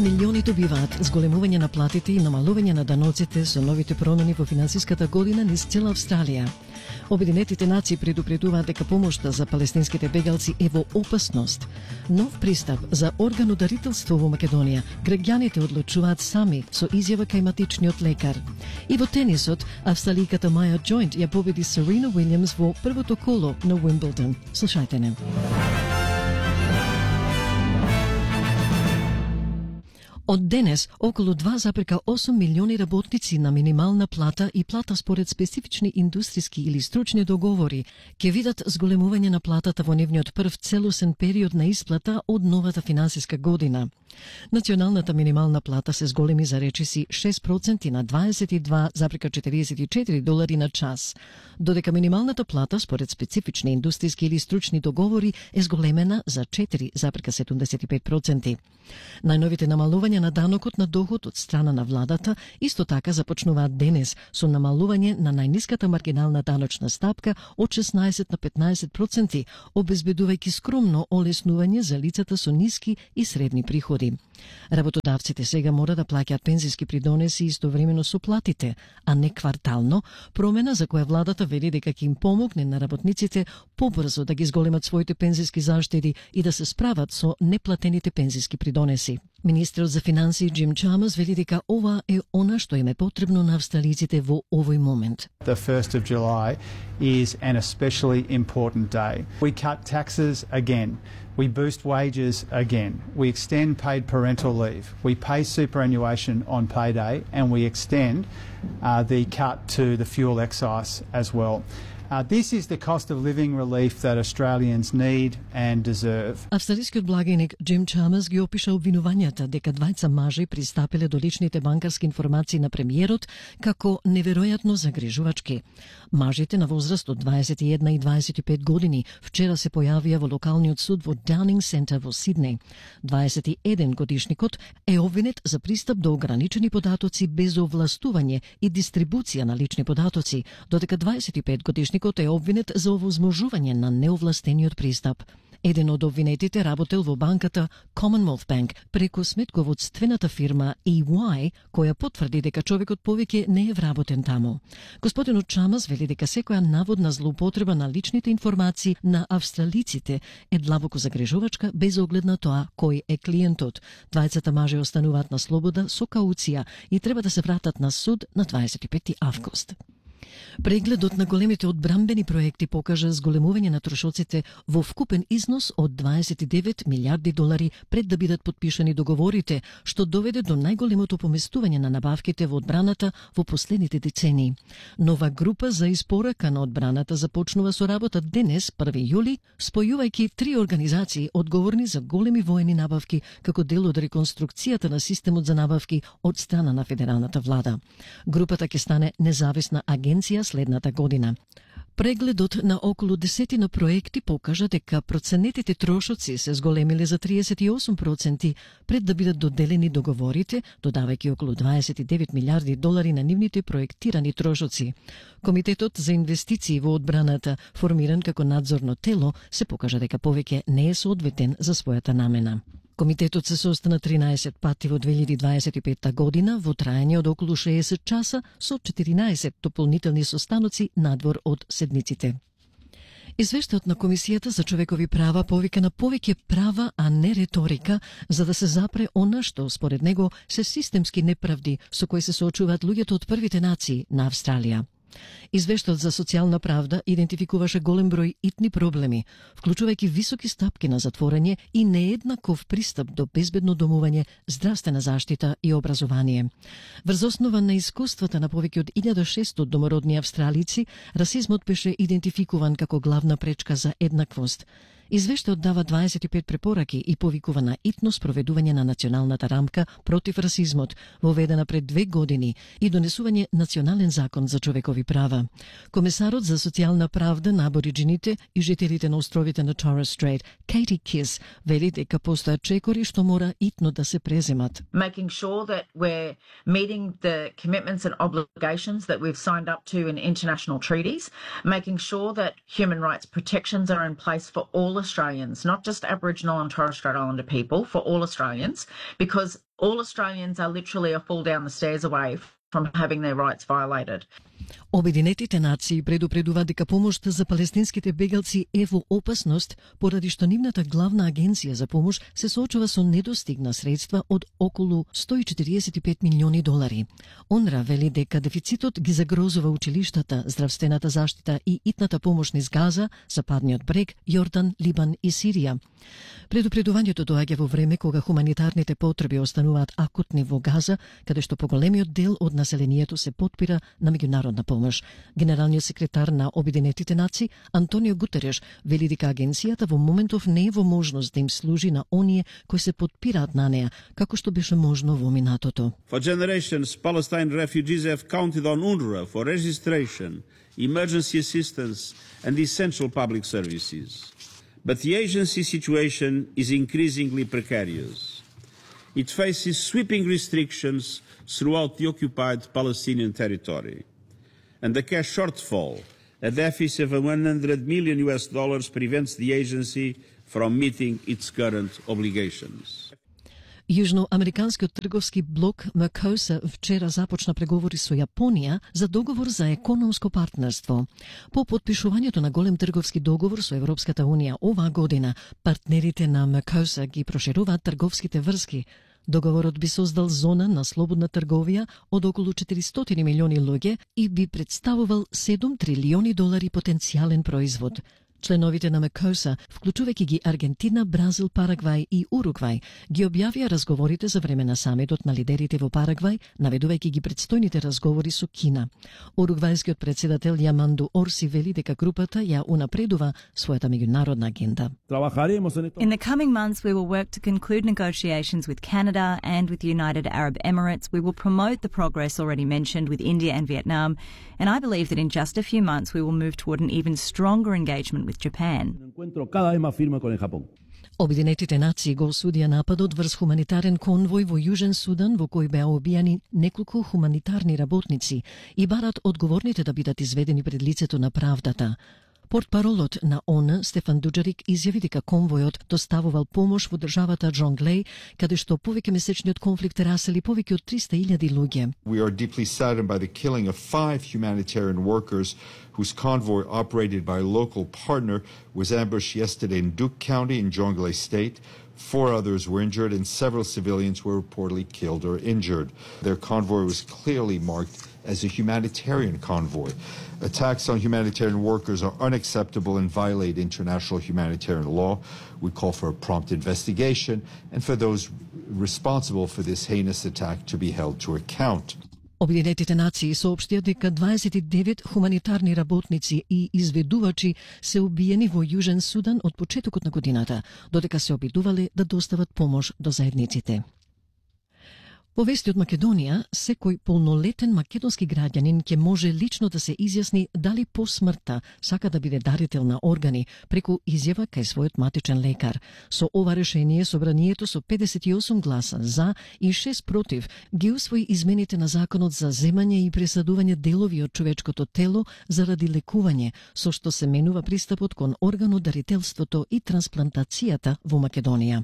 Милиони добиваат зголемување на платите и намалување на даноците со новите промени во финансиската година низ цела Австралија. Обединетите нации предупредуваат дека помошта за палестинските бегалци е во опасност. Нов пристап за органодарителство во Македонија. Граѓаните одлучуваат сами со изјава кај матичниот лекар. И во тенисот, австраликата Маја Џоинт ја победи Серена Уилјамс во првото коло на Уимблдон. Слушајте не. Од денес, околу 2,8 милиони работници на минимална плата и плата според специфични индустријски или стручни договори ќе видат зголемување на платата во нивниот прв целосен период на исплата од новата финансиска година. Националната минимална плата се зголеми за речиси 6% на $22,44 на час, додека минималната плата според специфични индустријски или стручни договори е зголемена за 4,75%. Најновите намалувања на данокот на доход од страна на владата исто така започнуваат денес со намалување на најниската маргинална даночна стапка од 16 на 15%, обезбедувајќи скромно олеснување за лицата со ниски и средни приходи. Работодавците сега мора да плаќаат пензиски придонеси истовремено со платите, а не квартално, промена за која владата вели дека ќе им помогне на работниците побрзо да ги зголемат своите пензиски заштеди и да се справат со неплатените пензиски придонеси. Министерот за финансии Джим Чамерс вели дека ова е она што им е потребно на австралиците во овој момент. The 1st of July is an especially important day. We cut taxes again. We boost wages again. We extend paid parental leave. We pay superannuation on payday, and we extend the cut to the fuel excise as well. This is the cost of living relief that Australians need and deserve. Австралискиот благиник Джим Чамерс ги опиша обвинувањата дека двајца мажи пристапиле до личните банкарски информации на премиерот како неверојатно загрижувачки. Мажите на возраст од 21 и 25 години вчера се појавија во локалниот суд во Даунинг Центар во Сиднеј. 21 годишникот е обвинет за пристап до ограничени податоци без овластување и дистрибуција на лични податоци, додека 25 годишникот е обвинет за овозможување на неовластениот пристап. Еден од обвинетите работел во банката Commonwealth Bank преку сметководствената фирма EY, која потврди дека човекот повеќе не е вработен таму. Господинот Чамерс вели дека секоја наводна злоупотреба на личните информации на австралиците е длабоко загрижувачка без оглед на тоа кој е клиентот. Двајцата мажи остануваат на слобода со кауција и треба да се вратат на суд на 25 август. Прегледот на големите одбрамбени проекти покажа зголемување на трошоците во вкупен износ од $29 милиарди пред да бидат подпишани договорите, што доведе до најголемото поместување на набавките во одбраната во последните децении. Нова група за испорака на одбраната започнува со работа денес, 1 јули, спојувајќи 3 организации одговорни за големи воени набавки како дел од реконструкцијата на системот за набавки од страна на федералната влада. Групата ќе стане независна агенција следната година. Прегледот на околу 10 на проекти покажа дека проценетите трошоци се зголемиле за 38% пред да бидат доделени договорите, додавајќи околу $29 милиарди на нивните проектирани трошоци. Комитетот за инвестиции во одбраната, формиран како надзорно тело, се покажа дека повеќе не е соодветен за својата намена. Комитетот се состана 13 пати во 2025 година во траење од околу 60 часа со 14 дополнителни состаноци надвор од седниците. Извештајот на Комисијата за човекови права повика на повеќе права, а не реторика, за да се запре она што, според него, се системски неправди со кои се соочуваат луѓето од првите нации на Австралија. Извештајот за социјална правда идентификуваше голем број итни проблеми, вклучувајќи високи стапки на затворање и нееднаков пристап до безбедно домување, здравствена заштита и образование. Врз основа на искуствата на повеќе од 1600 домородни австралици, расизмот беше идентификуван како главна пречка за еднаквост. Извештајот дава 25 препораки и повикува на итно спроведување на националната рамка против расизмот, воведена пред 2 години, и донесување национален закон за човекови права. Комесарот за социјална правда на абориджините и жителите на островите на Torres Strait, Katie Kiss, вели дека постојат чекори што мора итно да се преземат. Making sure that we're meeting the commitments and obligations that we've signed up to in international treaties, making sure that human rights protections are in place for all Australians, not just Aboriginal and Torres Strait Islander people, for all Australians, because all Australians are literally a fall down the stairs away from having their rights violated. Обединетите нации предупредуваат дека помошта за палестинските бегалци е во опасност поради што нивната главна агенција за помош се соочува со недостигна средства од околу 145 милиони долари. ОНРА вели дека дефицитот ги загрозува училиштата, здравствената заштита и итната помош низ Газа, Западниот брег, Јордан, Либан и Сирија. Предупредувањето доаѓа во време кога хуманитарните потреби остануваат акутни во Газа, каде што поголемиот дел од населението се потпира на меѓународна помош. Генералниот секретар на Обединетите нации Антонио Гутереш вели дека агенцијата во моментов не е во можност да им служи на оние кои се потпираат на неа, како што беше можно во минатото. For generations, Palestine refugees have counted on UNRWA for registration, emergency assistance and essential public services. But the agency situation is increasingly precarious. It faces sweeping restrictions throughout the occupied Palestinian territory. And the cash shortfall, a deficit of $100 million prevents the agency from meeting its current obligations. Јужноамериканскиот трговски блок МКОСА вчера започна преговори со Јапонија за договор за економско партнерство. По потпишувањето на голем трговски договор со Европската Унија оваа година, партнерите на МКОСА ги прошируваат трговските врски. Договорот би создал зона на слободна трговија од околу 400 милиони луѓе и би представувал $7 трилиони потенцијален производ. Членовите на МКОСА, вклучувајќи ги Аргентина, Бразил, Парагвај и Уругвај, ги објавија разговорите за време на самитот на лидерите во Парагвај, наведувајќи ги предстојните разговори со Кина. Уругвајскиот председател Јаманду Орси вели дека групата ја унапредува својата меѓународна агенда. In the coming months, we will work to conclude negotiations with Canada and with the United Arab Emirates. We will promote the progress already mentioned with India and Vietnam, and I believe that in just a few months we will move toward an even stronger engagement with Japan. Обединетите нации го осудија нападот врз хуманитарен конвој во Јужен Судан во кој беа убијани неколку хуманитарни работници и барат одговорните да бидат изведени пред лицето на правдата. Портпаролот на ООН Стефан Дуџарик изјави дека конвојот доставувал помош во државата Джонглеј, каде што повеќемесечниот конфликт расели повеќе од 300,000 луѓе. We are deeply saddened by the killing of 5 humanitarian workers whose convoy operated by a local partner was ambushed yesterday in Duke County in Jonglei State. 4 others were injured and several civilians were reportedly killed or injured. Their convoy was clearly marked as a humanitarian convoy. Attacks on humanitarian workers are unacceptable and violate international humanitarian law. We call for a prompt investigation and for those responsible for this heinous attack to be held to account. Обединетите нации соопштија дека 29 хуманитарни работници и изведувачи се убиени во Јужен Судан од почетокот на годината, додека се обидувале да достават помош до заедниците. По вести од Македонија, секој полнолетен македонски граѓанин ќе може лично да се изјасни дали по смртта сака да биде дарител на органи преку изјава кај својот матичен лекар. Со ова решение собранието со 58 гласа за и 6 против ги усвои измените на законот за земање и пресадување делови од човечкото тело заради лекување, со што се менува пристапот кон органодарителството и трансплантацијата во Македонија.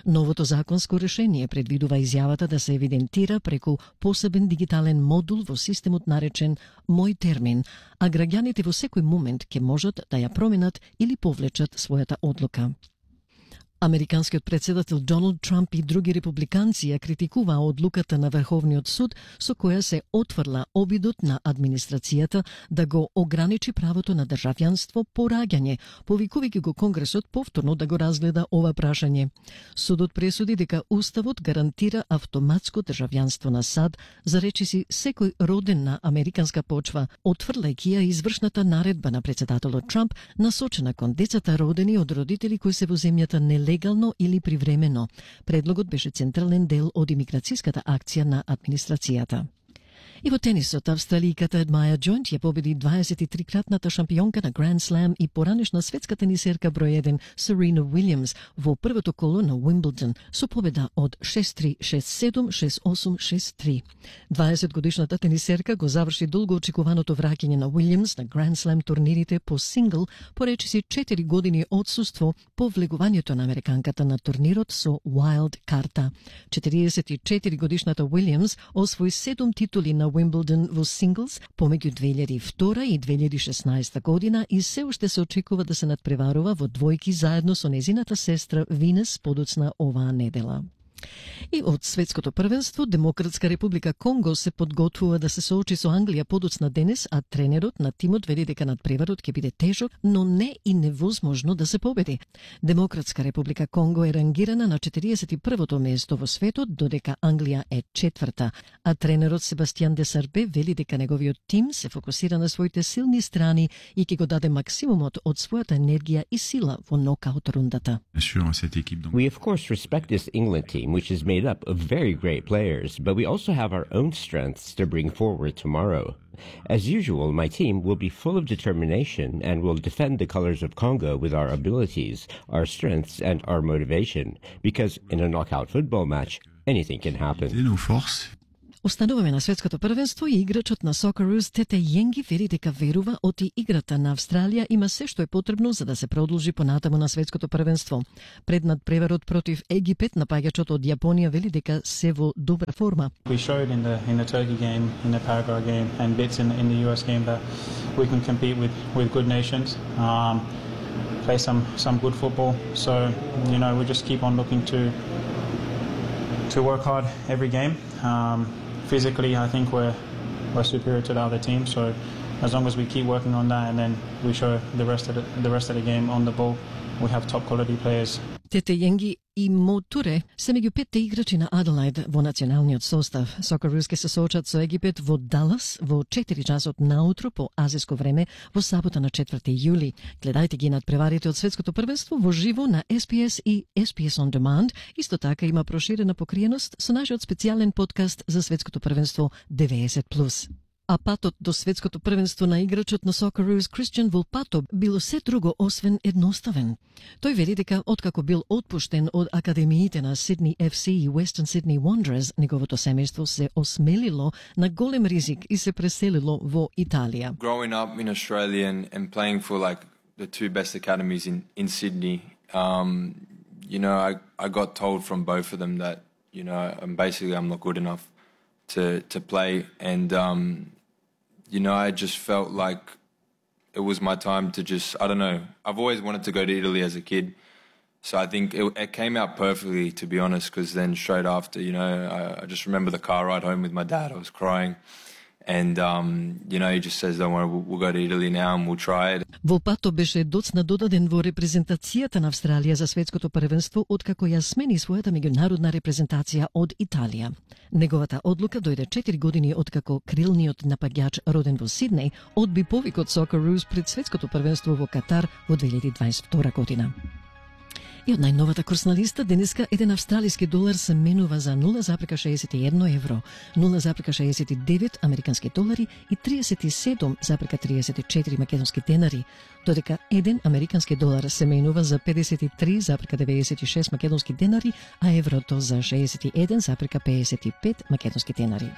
Новото законско решение предвидува изјавата да се евидентира преку посебен дигитален модул во системот наречен Мој термин, а граѓаните во секој момент ќе можат да ја променат или повлечат својата одлука. Американскиот председател Доналд Трамп и други републиканци ја критикуваа одлуката на Врховниот суд со која се отфрла обидот на администрацијата да го ограничи правото на државјанство по раѓање, повикувајќи го Конгресот повторно да го разгледа ова прашање. Судот пресуди дека Уставот гарантира автоматско државјанство на САД за речиси секој роден на американска почва, отфрлајќи ја извршната наредба на председателот Трамп насочена кон децата родени од родители кои се во земјата нелегално или привремено. Предлогот беше централен дел од имиграцијската акција на администрацијата. И во тенисот, австралијката Маја Джоинт ја победи 23-кратната шампионка на Grand Slam и поранешна светска тенисерка број 1 Серена Уилјамс во првото коло на Уимблдон со победа од 6-3, 6-7, 6-8, 6-3. 20-годишната тенисерка го заврши долго очекуваното враќање на Уилјамс на Grand Slam турнирите по сингл по речиси 4 години отсуство по влегувањето на американката на турнирот со Wild карта. 44-годишната Уилјамс освои 7 титули на Уимблдон во синглс помеѓу 2002 и 2016 година и се уште се очекува да се надпреварува во двојки заедно со незината сестра Винес подоцна оваа недела. И од светското првенство, Демократска република Конго се подготвува да се соочи со Англија подоцна денес, а тренерот на тимот вели дека надпреварот ќе биде тежок, но не и невозможно да се победи. Демократска република Конго е рангирана на 41-то место во светот, додека Англија е 4-та, а тренерот Себастијан Десарбе вели дека неговиот тим се фокусира на своите силни страни и ќе го даде максимумот од својата енергија и сила во нокаут рундата. We of course respect this England team, which is made up of very great players, but we also have our own strengths to bring forward tomorrow. As usual, my team will be full of determination and will defend the colors of Congo with our abilities, our strengths, and our motivation, because in a knockout football match, anything can happen. Остануваме на светското првенство и играчот на Socceroos Тете Јенги вери дека верува оти играта на Австралија има се што е потребно за да се продолжи понатаму на светското првенство. Пред надпреварот против Египет, напаѓачот од Јапонија вели дека се во добра форма. We showed in the Turkey game, in the Paraguay game and bits in the US game that we can compete with good nations. Play some good football. So, we just keep on looking to work hard every game. Physically, I think we're superior to the other team. So, as long as we keep working on that, and then we show the rest of the game on the ball, we have top quality players. Тете Јенги и Мо Туре се меѓу 5 играчи на Аделајд во националниот состав. Socceroos ќе се соочат со Египет во Далас во 4 часот наутро по азиско време во сабота на 4 јули. Гледајте ги надпреварите од светското првенство во живо на SPS и SPS On Demand. Исто така има проширена покриеност со нашиот специјален подкаст за светското првенство 90+. А патот до светското првенство на играчот на Socceroos Кристијан Волпато било се друго освен едноставен. Тој вели дека откако бил отпуштен од академиите на Sydney FC и Western Sydney Wanderers, неговото семејство се осмелило на голем ризик и се преселило во Италија. Growing up in Australia and playing for like the two best academies in Sydney, I got told from both of them that I'm not good enough to play, and I just felt like it was my time to just, I don't know, I've always wanted to go to Italy as a kid, so I think it came out perfectly, to be honest, because then straight after, I just remember the car ride home with my dad. I was crying, and he just says, don't worry, we'll go to Italy now and we'll try it. Волпато беше доцна додаден во репрезентацијата на Австралија за светското првенство откако ја смени својата меѓународна репрезентација од Италија. Неговата одлука дојде 4 години откако крилниот напаѓач роден во Сиднеј одби повик од Socceroos пред светското првенство во Катар во 2022 година. И од најновата курсна листа, денеска еден австралиски долар се менува за 0,61 евро, 0,69 американски долари и 37,34 македонски денари, додека еден американски долар се менува за 53,96 македонски денари, а еврото за 61,55 македонски денари.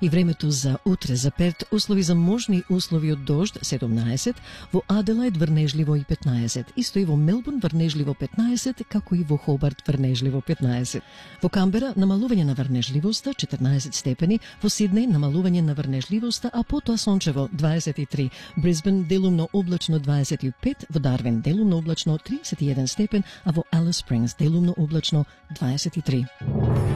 И времето за утре за Перт, услови за можни услови од дожд 17, во Аделајд врнежливо и 15, исто и во Мелбурн врнежливо 15, како и во Хобарт врнежливо 15. Во Камбера намалување на врнежливоста 14 степени, во Сиднеј намалување на врнежливоста, а потоа сончево 23, Брисбен делумно облачно 25, во Дарвин делумно облачно 31 степен, а во Алис Спрингс делумно облачно 23.